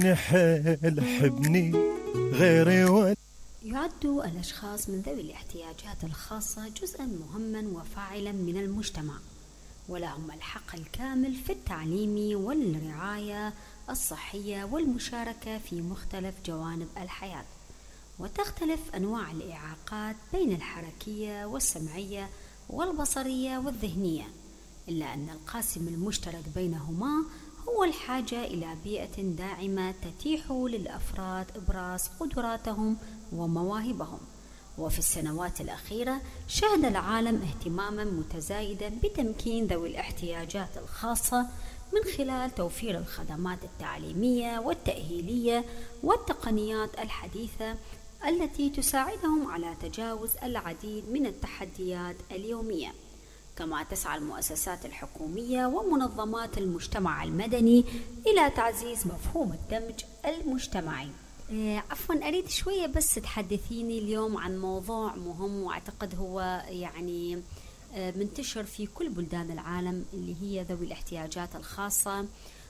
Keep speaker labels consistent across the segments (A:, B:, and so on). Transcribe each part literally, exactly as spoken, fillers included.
A: حيل حبني غيري و...
B: يعد الأشخاص من ذوي الاحتياجات الخاصة جزءا مهما وفاعلا من المجتمع، ولهم الحق الكامل في التعليم والرعاية الصحية والمشاركة في مختلف جوانب الحياة. وتختلف أنواع الإعاقات بين الحركية والسمعية والبصرية والذهنية، إلا أن القاسم المشترك بينهما هو الحاجة إلى بيئة داعمة تتيح للأفراد إبراز قدراتهم ومواهبهم. وفي السنوات الأخيرة شهد العالم اهتماما متزايدا بتمكين ذوي الاحتياجات الخاصة من خلال توفير الخدمات التعليمية والتأهيلية والتقنيات الحديثة التي تساعدهم على تجاوز العديد من التحديات اليومية. كما تسعى المؤسسات الحكومية ومنظمات المجتمع المدني إلى تعزيز مفهوم الدمج المجتمعي. إيه عفوا أريد شوية بس تحدثيني اليوم عن موضوع مهم، وأعتقد هو يعني منتشر في كل بلدان العالم، اللي هي ذوي الاحتياجات الخاصة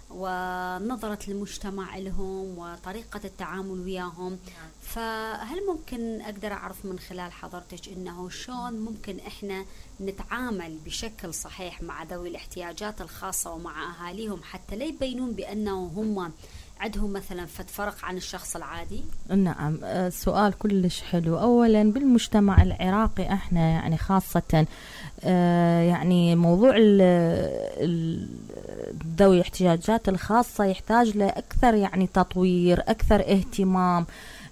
B: ونظرة المجتمع لهم وطريقة التعامل وياهم. فهل ممكن أقدر أعرف من خلال حضرتك إنه شلون ممكن إحنا نتعامل بشكل صحيح مع ذوي الاحتياجات الخاصة ومع أهاليهم حتى لا يبينون بأنه هم عندهم مثلا فد فرق عن الشخص العادي؟
C: نعم، سؤال كلش حلو. أولا بالمجتمع العراقي احنا يعني خاصة يعني موضوع ذوي الاحتياجات الخاصة يحتاج لأكثر يعني تطوير، أكثر اهتمام،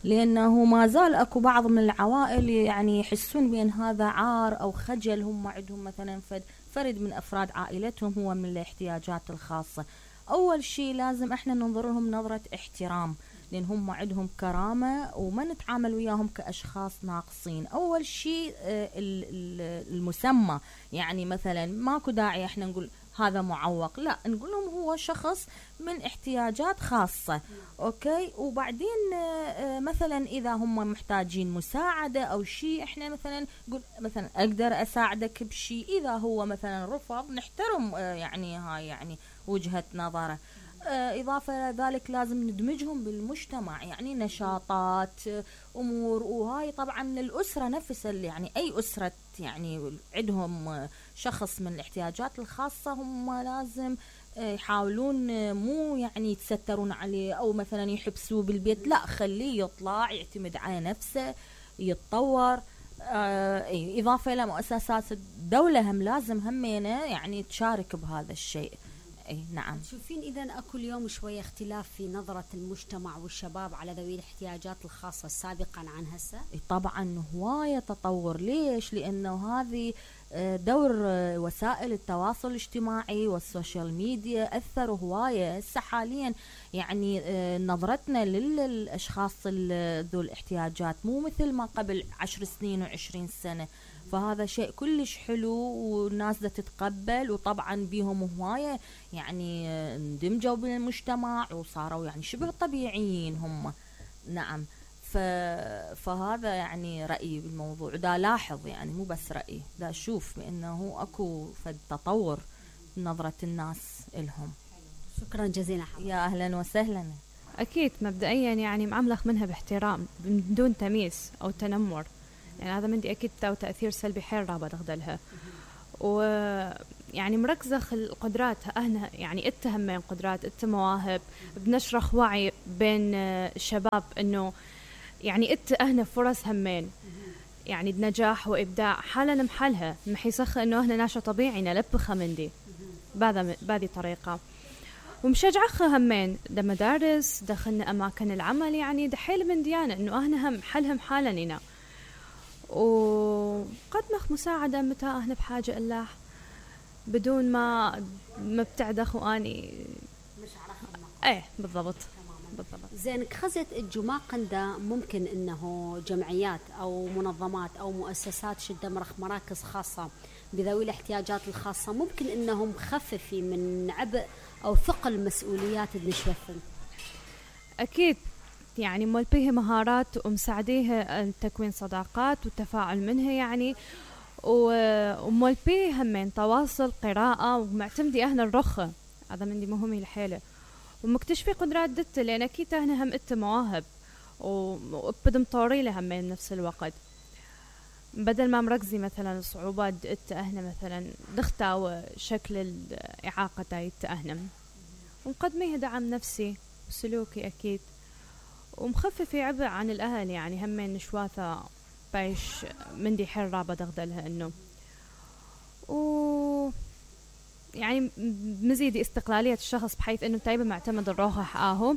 C: لأنه ما زال أكو بعض من العوائل يعني يحسون بأن هذا عار أو خجل، هم عندهم مثلا فرد من أفراد عائلتهم هو من الاحتياجات الخاصة. أول شيء لازم إحنا ننظر لهم نظرة احترام، لأن هم عندهم كرامة وما نتعامل وياهم كأشخاص ناقصين. أول شيء المسمى، يعني مثلا ماكو داعي إحنا نقول هذا معوق، لا، نقول لهم هو شخص من احتياجات خاصة. أوكي، وبعدين مثلا إذا هم محتاجين مساعدة أو شيء، إحنا مثلا نقول مثلا أقدر أساعدك بشيء. إذا هو مثلا رفض نحترم يعني هاي يعني وجهة نظره. إضافة إلى ذلك لازم ندمجهم بالمجتمع، يعني نشاطات، أمور، وهاي طبعا الأسرة نفسها، يعني أي أسرة يعني عندهم شخص من الاحتياجات الخاصة هم لازم يحاولون مو يعني يتسترون عليه أو مثلا يحبسوه بالبيت، لا، خليه يطلع يعتمد على نفسه يتطور. آه إضافة إلى مؤسسات الدولة هم لازم همينة يعني تشارك بهذا الشيء. اي نعم.
B: تشوفين اذا اكو اليوم شويه اختلاف في نظره المجتمع والشباب على ذوي الاحتياجات الخاصه سابقا عن هسه؟
C: طبعا هوايه تطور. ليش؟ لانه هذه دور وسائل التواصل الاجتماعي والسوشيال ميديا اثروا هوايه. هسه حاليا يعني نظرتنا للاشخاص ذو الاحتياجات مو مثل ما قبل عشر سنين وعشرين سنه، فهذا شيء كلش حلو والناس دا تتقبل، وطبعا بيهم هواية يعني اندمجوا بالمجتمع وصاروا يعني شبه طبيعيين هم. نعم، ف... فهذا يعني رأيي بالموضوع. دا لاحظ يعني مو بس رأيي، دا أشوف بأنه أكو فد تطور نظرة الناس إلهم.
B: شكرا جزيلا.
C: يا أهلا وسهلا.
D: أكيد مبدئيا يعني معاملخ منها باحترام بدون تمييز أو تنمر، يعني هذا مندي أكيد تاو تأثير سلبي حيل رابط أخذلها. ويعني مركزة القدرات أهنا، يعني اتهمين قدرات ات مواهب، بنشرح وعي بين الشباب إنه يعني ات أهنا فرص همين، يعني بنجاح وإبداع حالا محلها محيسخ إنه أهنا ناشا طبيعي نلبخها مندي بهذا بهذه طريقة. ومشجعخها همين دا مدارس دخلنا أماكن العمل، يعني دحيل من ديانة إنه أهنا هم حلهم حالا هنا، وقدمخ مساعدة متى احنا بحاجة الله بدون ما ما بتعدخ واني
B: مش عارفة.
D: ايه بالضبط بالضبط.
B: زين، خزت الجماقندة ممكن انه جمعيات او منظمات او مؤسسات شدة مرخ مراكز خاصة بذوي الاحتياجات الخاصة ممكن انهم خففي من عبء او ثقل مسؤوليات النشوفن؟
D: اكيد، يعني مول بيه مهارات ومساعديها تكوين صداقات والتفاعل منها، يعني ومول بيه همين تواصل قراءة ومعتمدي اهنا الرخة، هذا من دي مهمي الحيلة. ومكتشفي قدرات دته، لان اكيد هنا هم اته مواهب وبدم طوري لها همين بنفس الوقت. بدل ما مركزي مثلا صعوبات دته اهنا مثلا دختاوى شكل الاعاقه تاعت اهنا، ومقدميها دعم نفسي وسلوكي اكيد، ومخففي عبء عن الاهل. يعني همين نشواثه بايش مندي حرة بدغدلها انه و يعني مزيد استقلالية الشخص بحيث انه تايبه معتمد الروحه حقاهو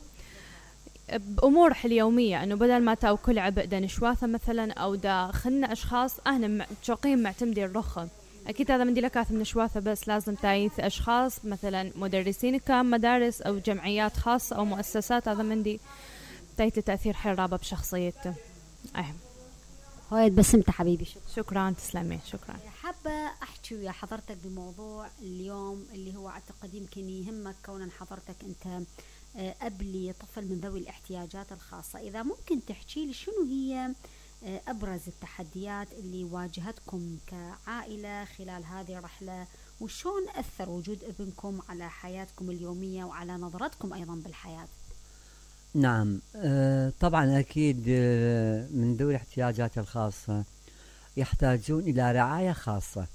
D: بامور اليوميه، انه بدل ما تاو كل عبء دا نشواثه مثلا او دا خلنا اشخاص اهنا شوقين معتمدين الرخه. اكيد هذا مندي لكاث من نشواثه، بس لازم تايث اشخاص مثلا مدرسين كام مدارس او جمعيات خاصه او مؤسسات، هذا مندي تايث تاثير حرابه بشخصيته. اهم
B: هاي بسمت حبيبي. شكرا.
D: شكرا تسلمي. شكرا.
B: حابة أحكي ويا حضرتك بموضوع اليوم اللي هو أعتقد يمكن يهمك كون حضرتك أنت أب لطفل من ذوي الاحتياجات الخاصة. إذا ممكن تحكي لي شنو هي أبرز التحديات اللي واجهتكم كعائلة خلال هذه الرحلة، وشون أثر وجود ابنكم على حياتكم اليومية وعلى نظرتكم أيضا بالحياة؟
E: نعم آه طبعا أكيد آه من ذوي الاحتياجات الخاصة يحتاجون إلى رعاية خاصة.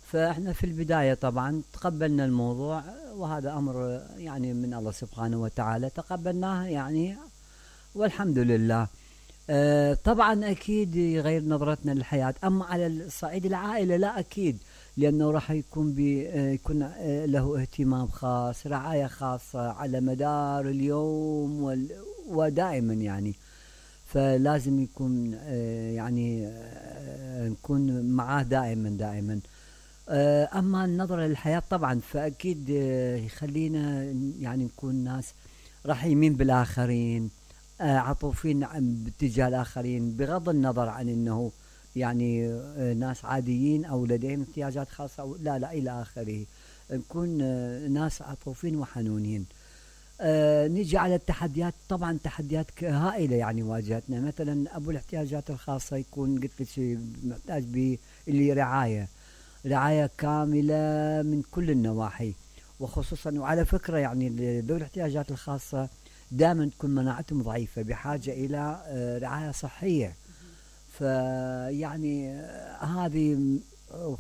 E: فإحنا في البداية طبعا تقبلنا الموضوع، وهذا أمر يعني من الله سبحانه وتعالى تقبلناه يعني والحمد لله. آه طبعا أكيد يغير نظرتنا للحياة. أما على الصعيد العائلة لا أكيد، لأنه راح يكون بيكون آه له اهتمام خاص، رعاية خاصة على مدار اليوم ودائما يعني. فلازم يكون آه يعني آه نكون معاه دائما دائما. آه أما النظرة للحياة طبعا فأكيد آه يخلينا يعني نكون ناس رحيمين بالآخرين، آه عطوفين باتجاه الآخرين، بغض النظر عن أنه يعني آه ناس عاديين أو لديهم احتياجات خاصة أو لا لا إلى آخره. نكون آه ناس عطوفين وحنونين. آه نيجي على التحديات. طبعا تحديات هائلة يعني واجهتنا. مثلا أبو الاحتياجات الخاصة يكون قلت لك محتاج باللي رعاية رعاية كاملة من كل النواحي، وخصوصا وعلى فكرة يعني ذوي الاحتياجات الخاصة دائما تكون مناعتهم ضعيفة، بحاجة إلى آه رعاية صحية. فيعني آه هذه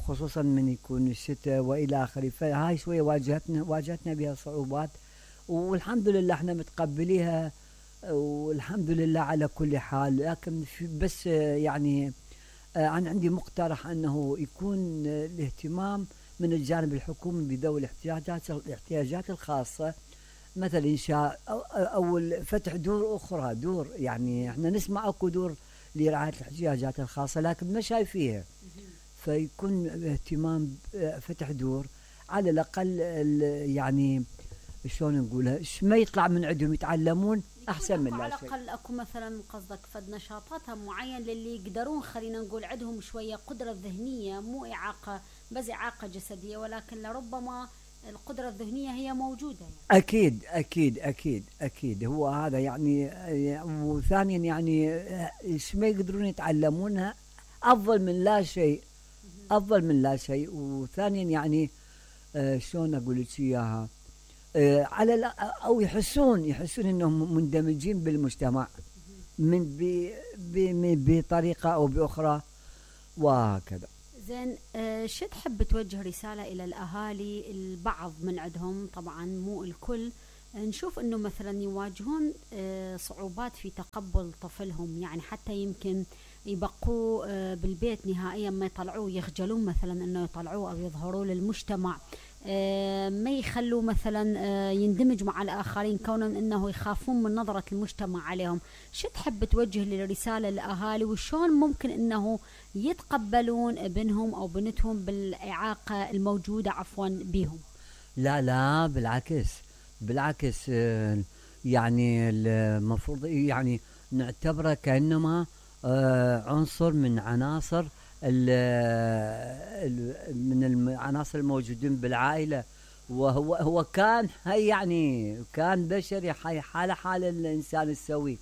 E: خصوصا من يكون الشتاء وإلى آخره. فهاي شوية واجهتنا واجهتنا بها صعوبات، والحمد لله احنا متقبليها والحمد لله على كل حال. لكن بس يعني انا عندي مقترح انه يكون الاهتمام من الجانب الحكومي بذوي الاحتياجات الاحتياجات الخاصه، مثلا انشاء او, أو فتح دور اخرى، دور يعني احنا نسمع اكو دور لرعايه الاحتياجات الخاصه لكن ما شايفيها. فيكون اهتمام فتح دور على الاقل يعني شلون نقولها، ما يطلع من عندهم يتعلمون احسن من لا
B: على
E: شيء.
B: الاقل اكو مثلا قصدك فد نشاطاتها معين للي يقدرون خلينا نقول عندهم شويه قدره ذهنيه، مو اعاقه بس اعاقه جسديه، ولكن لربما القدره الذهنيه هي موجوده يعني.
E: اكيد اكيد اكيد اكيد هو هذا يعني. وثانيا يعني ايش ما يقدرون يتعلمونها افضل من لا شيء، افضل من لا شيء. وثانيا يعني آه شلون اقول لك اياها، آه على او يحسون يحسون انهم مندمجين بالمجتمع من بطريقه او باخرى وهكذا.
B: زين آه شو تحب توجه رساله الى الاهالي؟ البعض من عندهم طبعا مو الكل، نشوف انه مثلا يواجهون آه صعوبات في تقبل طفلهم، يعني حتى يمكن يبقوا آه بالبيت نهائيا ما يطلعوه، يخجلون مثلا انه يطلعوه او يظهروا للمجتمع، آه ما يخلوا مثلا آه يندمج مع الاخرين كونا انه يخافون من نظرة المجتمع عليهم. شو تحب توجه للرسالة للاهالي، وشون ممكن انه يتقبلون ابنهم او بنتهم بالاعاقة الموجودة عفوا بهم؟
E: لا لا بالعكس بالعكس، آه يعني المفروض يعني نعتبره كأنما آه عنصر من عناصر من العناصر الموجودين بالعائلة. وهو هو كان هي يعني كان بشري حاله حال الإنسان السوي.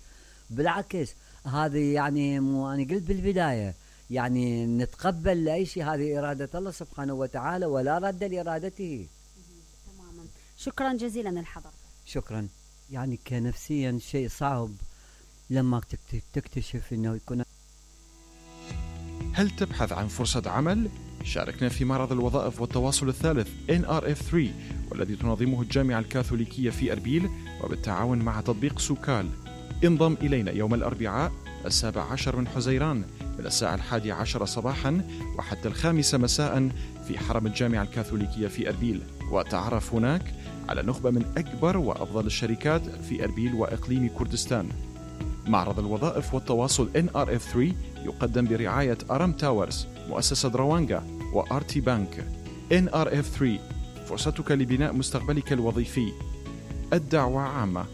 E: بالعكس هذه يعني مو أنا قلت بالبداية يعني نتقبل لأي شيء، هذه إرادة الله سبحانه وتعالى ولا رد لإرادته.
B: تماما. شكرا جزيلا الحضر.
E: شكرا. يعني كنفسيا شيء صعب لما تكتشف انه يكون.
F: هل تبحث عن فرصة عمل؟ شاركنا في معرض الوظائف والتواصل الثالث إن آر إف ثلاثة والذي تنظمه الجامعة الكاثوليكية في أربيل وبالتعاون مع تطبيق سوكال. انضم إلينا يوم الأربعاء السابع عشر من حزيران من الساعة الحادية عشر صباحا وحتى الخامسة مساء في حرم الجامعة الكاثوليكية في أربيل، وتعرف هناك على نخبة من أكبر وأفضل الشركات في أربيل وإقليم كردستان. معرض الوظائف والتواصل إن آر إف ثلاثة يقدم برعاية أرم تاورز، مؤسسة روانجا وآرتي بانك. إن آر إف ثلاثة، فرصتك لبناء مستقبلك الوظيفي. الدعوة عامة.